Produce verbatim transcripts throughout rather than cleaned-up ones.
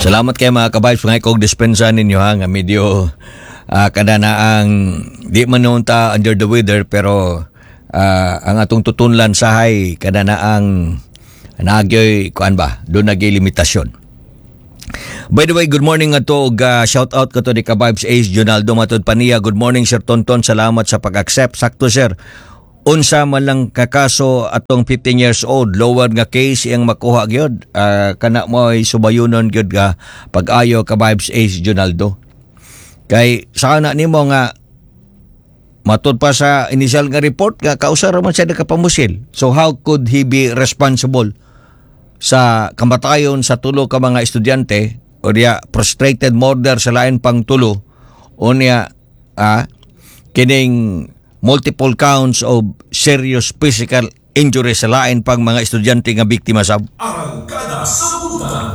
Salamat kay mga ka-vibes mga kog dispensa ninyo ha nga medyo uh, kada na ang di man noon ta under the weather, pero ah, ang atong tutunlan sahay kada na ang nagyoy kuan ba doon nagyoy limitasyon. By the way, good morning ato og uh, shout out ko to ni ka-vibes Ace Jonaldo. Matud pa niya, "Good morning, Sir Tonton, salamat sa pag-accept." Sakto, sir. Unsa man lang kakaso atong fifteen years old, lower nga case iyang makuha gyud. Uh, kana mo ay subayunon gyud nga pag-ayo, ka-vibes Ace Jonaldo. Kay sa kana nimo nga matud pa sa initial nga report nga kausa ra man siya nakapamusil. So how could he be responsible sa kamatayon sa tulo ka mga estudyante o diya frustrated murder sa lain pang tulo o niya ah, kining multiple counts of serious physical injury sa lain pang mga estudyante nga biktima sab? Arangkada sa Butan.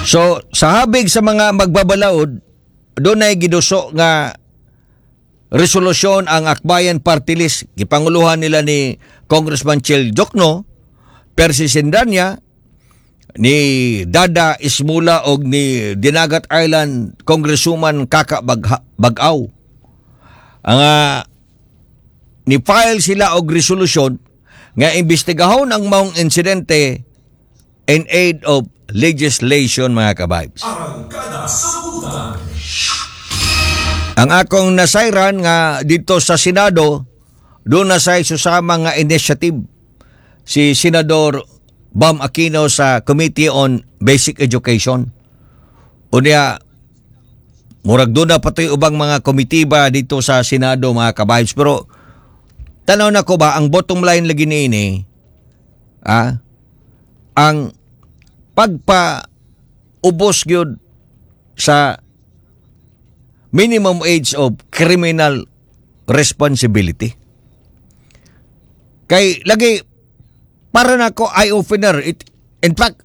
So, sa habig sa mga magbabalaod, doon ay giduso nga resolusyon ang Akbayan Party List. Gipanguluhan nila ni Congressman Chel Diokno, Percy Cendaña, ni Dada Ismula og ni Dinagat Island Congresswoman Kaka Bagha- Bag-aw. Ang ah, ni-file sila og resolusyon nga imbestigahon ang maong insidente in aid of legislation, mga ka-vibes. Arangkada sa Butan. Ang akong nasayran nga dito sa Senado, doon na sa susama nga initiative si Senador Bam Aquino sa Committee on Basic Education. Unya, murag doon na pati ubang mga komitiba dito sa Senado, mga ka-vibes. Pero tanaw na ko ba, ang bottom line lagi niini, ah, ang pagpa ubos gyud sa minimum age of criminal responsibility. Kay lagi para nako eye opener it, in fact,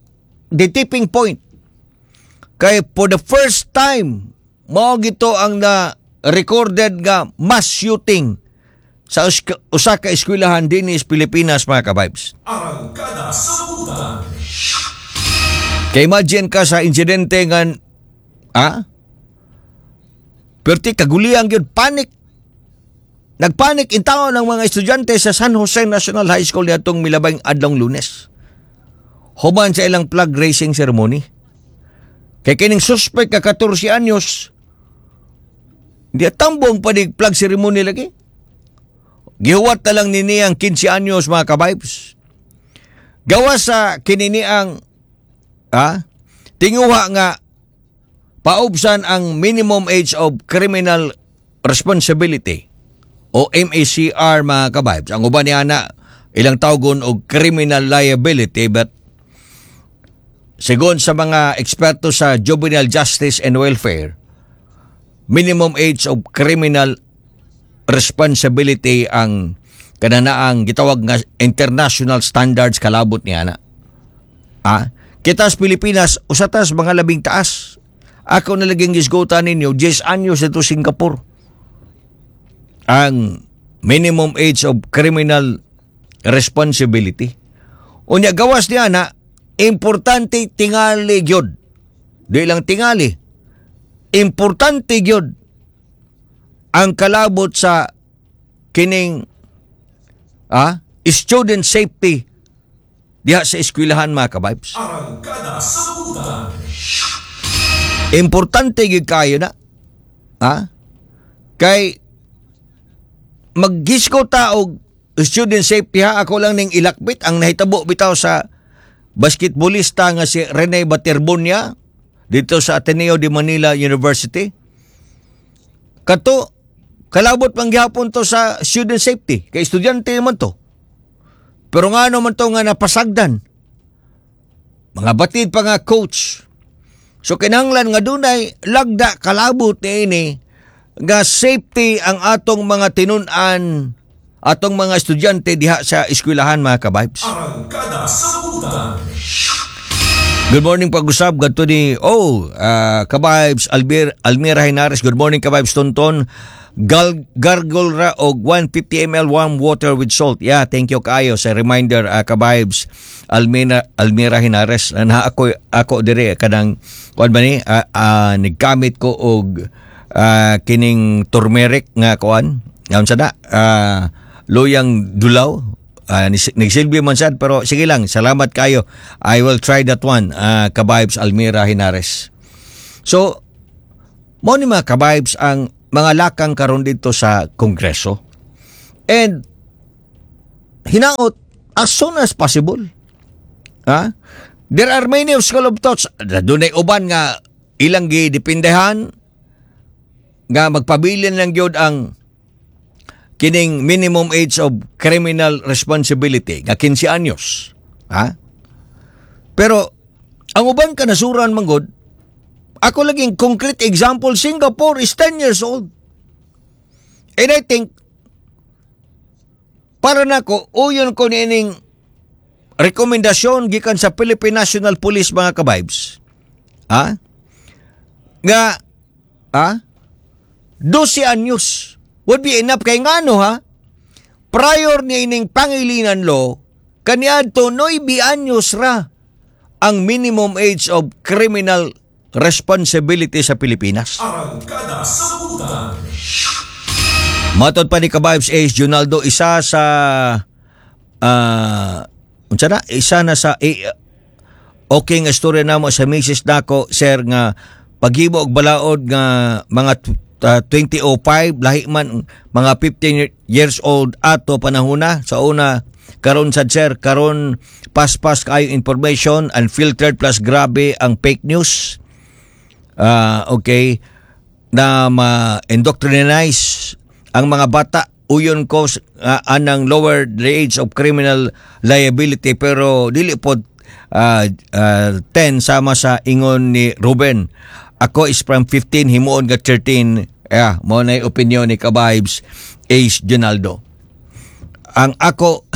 the tipping point kay for the first time mao gito ang na recorded nga mass shooting sa uska- usa ka eskwelahan dinhi sa Pilipinas, mga ka-vibes. Arangkada sa Butan. Kay imagine ka sa insidente nga ah perti kaguliang gyud, panic. Nagpanik in taon ng mga estudyante sa San Jose National High School niadtong milabay adlong Lunes, human sa ilang flag raising ceremony. Kay kining suspect ka katorse anyos, di tambong pa ni flag ceremony lagi. Gihuwat na lang ni niyang kinse anyos, mga ka-vibes. Gawas sa kinini ang ah, tinguha nga paubsan ang minimum age of criminal responsibility o M A C R, mga ka-vibes. Ang uban niya na ilang tawgon og criminal liability, but sigon sa mga eksperto sa juvenile justice and welfare, minimum age of criminal responsibility ang kananaang gitawag nga international standards kalabot niya na. Ah, kita sa Pilipinas, usa tas mga labing taas. Ako na laging gisgutan ninyo, ten anyos ito Singapore. Ang minimum age of criminal responsibility. Unya gawas niya na, importante tingali gyud. Di lang tingali. Importante gyud ang kalabot sa kining ah, student safety diha sa eskwelahan, mga ka-vibes. Arangkada sa Butan. Importante gyud kayo na. Ha? Kay maggisko ta og student safety ha, ako lang ning ilakbit ang nahitabo bitaw sa basketballista nga si Rene Baterbonia dito sa Ateneo de Manila University. Kato kalabot man gihapon to sa student safety kay estudyante man to. Pero nga naman to nga napasagdan. Mga batid pa nga coach. So kinahanglan nga dunay lagda kalabot niini nga safety ang atong mga tinun-an, atong mga estudyante diha sa eskwelahan, mga ka-vibes. Arangkada sa Butan. Good morning pag-usab gadto ni oh uh, ka-vibes Albir Almira Hinares. "Good morning, ka-vibes Tonton. Gal, gargle ra og one hundred fifty milliliters warm water with salt." Yeah, thank you kaayo sa reminder, uh, ka-vibes. Almira Almira Hinares. Na ako ako dire kanang kuan ba ni, uh, uh, naggamit ko og uh, kining turmeric nga kuan. Ngayon sa na uh, luyang dulaw. Uh, nagsilbi man sad, pero sige lang, salamat kayo. I will try that one, uh, Kabibes Almira Hinares. So, mo ni, mga kabibes, ang mga lakang karon dito sa Kongreso. And hinaot as soon as possible. Ha? There are many of school of thoughts. Dunay uban nga ilang gidepindehan nga magpabilin lang gyud ang kining minimum age of criminal responsibility nga kinse anyos. Ha? Pero ang uban kanasuran manggod, ako laging concrete example, Singapore is ten years old. And I think para nako, uyon ko niining rekomendasyon gikan sa Philippine National Police, mga kabibes. Ha? Nga ha? dose anyos would be enough kay ngano, ha? Prior ni ining Pangilinan Law, kaniadto nuwebe anyos ra ang minimum age of criminal responsibility sa Pilipinas. Arangkada sa Butan. Matod pa ni Kabibes Ace Junaldo, isa sa ah unsa na, isa na sa eh, okay nga istorya namo sa misis nako, sir, nga paghimo og balaod nga mga tw- uh, two thousand five, lahi man mga fifteen years old ato panahona sa una. Karon sad, sir, karon paspas kayo information, unfiltered, plus grabe ang fake news. Ah, okay, na ma-indoctrinize ang mga bata. Uyon ko uh, anang lower the age of criminal liability, pero dili pod uh, uh, ten sama sa ingon ni Ruben. Ako is from fifteen, himuon nga thirteen. Yeah, mo na opinion ni Kabibes Ace Jonaldo. Ang ako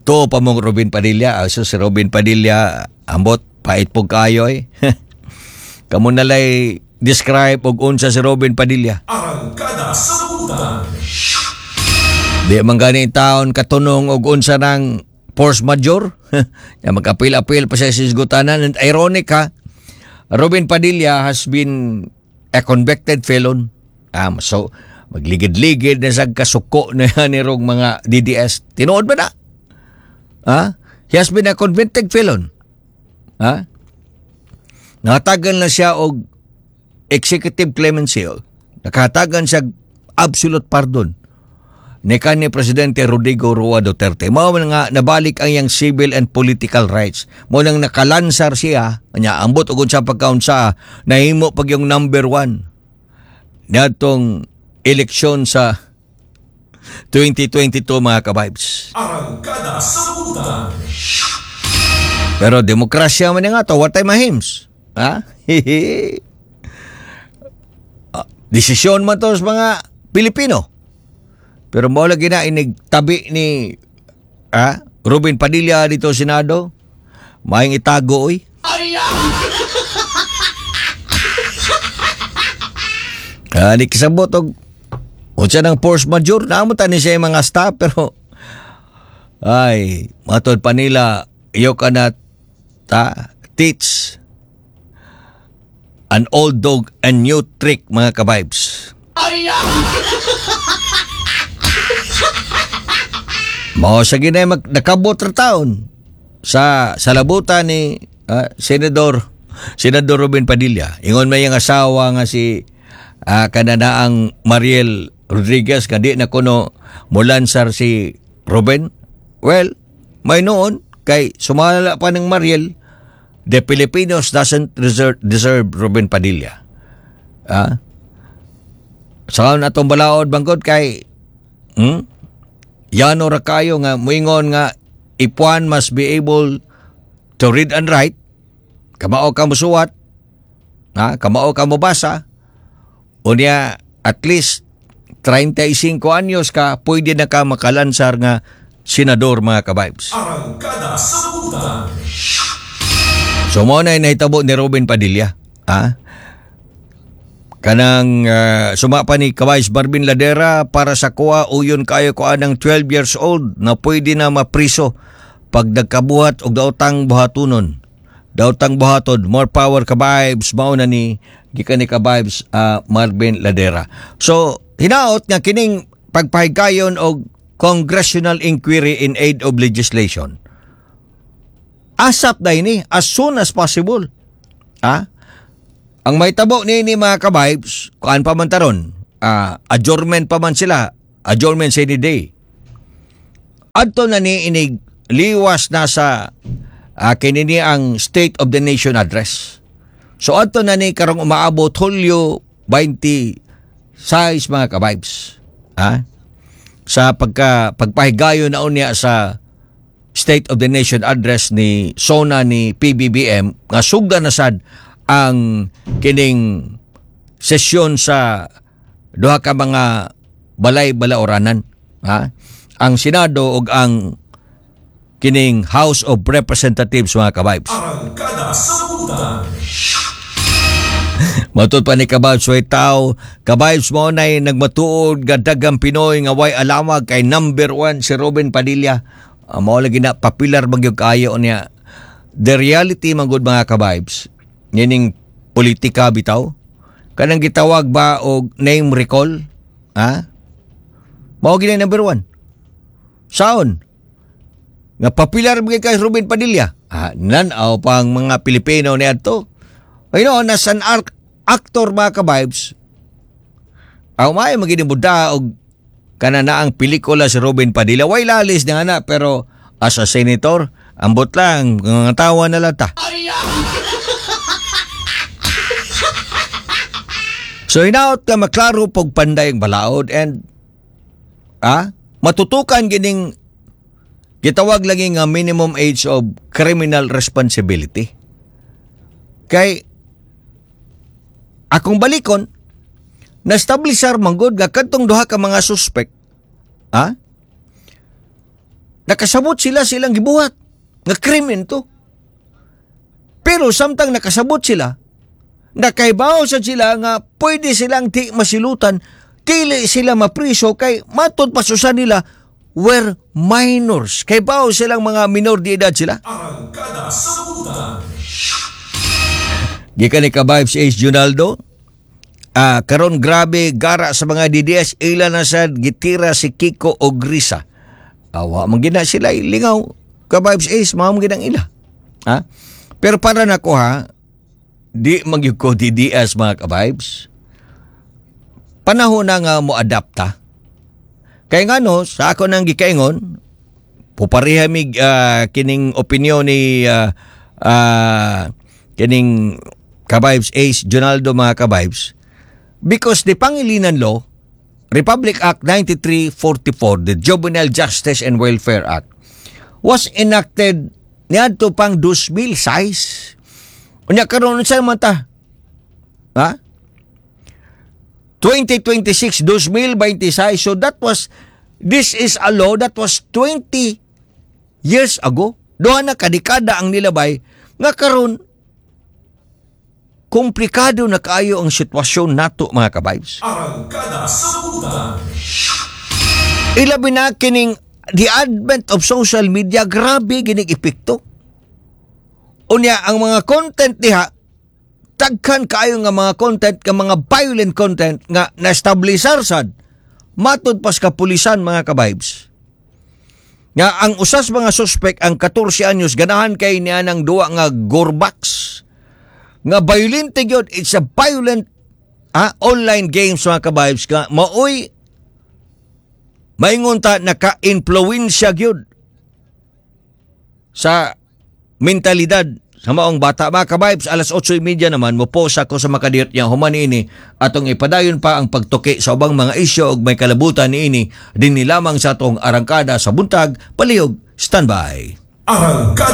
to pa mong Robin Padilla. Ah, so si Robin Padilla, ambot pait po kayo eh. Kamo nalay describe og unsa si Robin Padilla. Arangkada sa Butan. Di man gani taon katunong og unsa ng force majeure. Ya magapil-apil pa siya sa hisgutanan. And ironic ha, Robin Padilla has been a convicted felon. Um, so, magligid-ligid na sa kasuko na ni rong mga D D S. Tinuod ba na? Ha? He has been a convicted felon. Ha? Natagan na siya og executive clemency. Nakatagan siya absolute pardon ni kanhi Presidente Rodrigo Roa Duterte. Mao man nga nabalik ang iyang civil and political rights. Mao nang nakalansar siya, nya ambot og sa pagkaunsa nahimo pag yung number one niadtong eleksyon sa twenty twenty-two, mga kabibes. Arangkada sa Butan. Pero demokrasya man nga to, what time mahims? Ha? Ah, desisyon man to sa mga Pilipino. Pero mo lagi na inig tabi ni ah, Robin Padilla dito sa Senado. Maayong itago oy. Ah, di kisabot og unsa nang force majeure, naamo ta ni siya yung mga staff, pero ay, matod pa nila, you cannot ta, teach an old dog a new trick, mga kabibes. Mao sa ginay mag nakabot ra taon sa sa labutan ni ah, Senador Senador Robin Padilla. Ingon may ang asawa nga si uh, kananaang Mariel Rodriguez nga di na kuno mulansar si Robin. Well, may noon kay sumala pa ng Mariel, the Filipinos doesn't deserve, deserve Robin Padilla. Ah? Sa atong balaod bangkod kay hmm? Yano ra kayo nga muingon nga if one must be able to read and write, kamao ka musuwat, ha, kamao ka mobasa, unya at least trentay singko anyos ka, pwede na ka makalansar nga senador, mga kabibes. Arangkada sa Butan. So mo na nahitabo ni Robin Padilla. Ha? Kanang uh, suma pa ni Kawais Barbin Ladera, para sa kuha, uyon kayo ko anang twelve years old na pwede na mapriso. Pag nagkabuhat og daotang buhatunon, daotang buhaton, more power, ka-vibes. Mao na ni gikan ni ka-vibes ah, Marvin Ladera. So hinaot nga kining pagpahigayon og congressional inquiry in aid of legislation, ASAP na ini, as soon as possible. Ah? Ang may tabo ni ni mga ka-vibes, kuan pa man taron, ah, adjournment pa man sila, adjournment sa any day. Adto na ni inig liwas na sa uh, kinini ang State of the Nation Address. So adto na ni karong umaabot Hulyo twenty-six, mga ka-vibes. Ah? Sa pagka pagpahigayon na unya sa State of the Nation Address ni SONA ni P B B M nga sugda na sad ang kining sesyon sa duha ka mga balay balauranan, ha, ang Senado ug ang kining House of Representatives, mga ka-vibes. Arangkada sa Buntag. Matod pa ni ka-vibes way tao, ka-vibes, mo nay nagmatuod nga daghang Pinoy nga way alamag kay number one si Robin Padilla. Uh, mao lagi na popular magyud kaayo niya. The reality man gud, mga ka-vibes, nining politika bitaw, kanang gitawag ba og name recall, ha? Mao gini number one. Saon? Nga popular gyud kay Robin Padilla. Ah, nan-aw pang mga Pilipino ni adto. You know, nas an ar- actor, mga ka-vibes, aw may maging buda og kana na ang pelikula si Robin Padilla. Way lalis nga na, pero as a senator, ambot lang, mga tawa na lang ta. So hinaot ka maklaro pog panday ang balaod and ah, matutukan gining gitawag lagi nga minimum age of criminal responsibility. Kay akong balikon, na-establisar man gud nga kadtong duha ka mga suspect, ah, nakasabot sila silang gibuhat nga krimen to. Pero samtang nakasabot sila, nakaibaw sad sila nga pwede silang di masilutan, dili sila mapriso kay matod pa susa nila were minors. Kay baw silang mga minor de edad sila. Arangkada sa Buntag. Gikan ni ka-vibes Ace Junaldo, ah, karon grabe gara sa mga D D S, ila na sad gitira si Kiko og Risa. Awa man gina sila lingaw. Ka-vibes Ace, mao man ginang ila. Ha? Pero para nako ha, di magyud ko D D S, mga ka-vibes. Panahon na nga mo adapta. Kay ngano, sa ako nang gikaingon, pupareha mig ah, kining opinion ni ah, ah, kining ka-vibes Ace Jonaldo, mga ka-vibes, because the Pangilinan Law, Republic Act ninety-three forty-four, the Juvenile Justice and Welfare Act, was enacted niadto pang two thousand six. Unya karon unsa man ta? Ha? twenty twenty-six, twenty twenty-six. So that was, this is a law that was twenty years ago. Duha na kadekada ang nilabay nga karon komplikado na kaayo ang sitwasyon nato, mga ka-vibes. Arangkada sa Buntag. Ilabi na kining the advent of social media, grabe ginig epekto. Unya ang mga content diha, daghan kaayo nga mga content nga mga violent content nga na-establisar sad matud pas kapulisan, mga ka-vibes. Nga ang usas mga suspect, ang katorse anyos, ganahan kay niya ng duwa nga Gorbax nga violent gyud. It's a violent ah, online games, mga ka-vibes, nga maoy maingon ta naka-influensya gyud sa mentalidad sa maong bata, mga ka-vibes. Alas otso treinta naman mo post ako sa makadiyot niya. Human ini atong ipadayon pa ang pagtuki sa ubang mga isyu og may kalabutan niini dinhi lamang sa atong Arangkada sa Buntag. Palihog standby. Arangkada.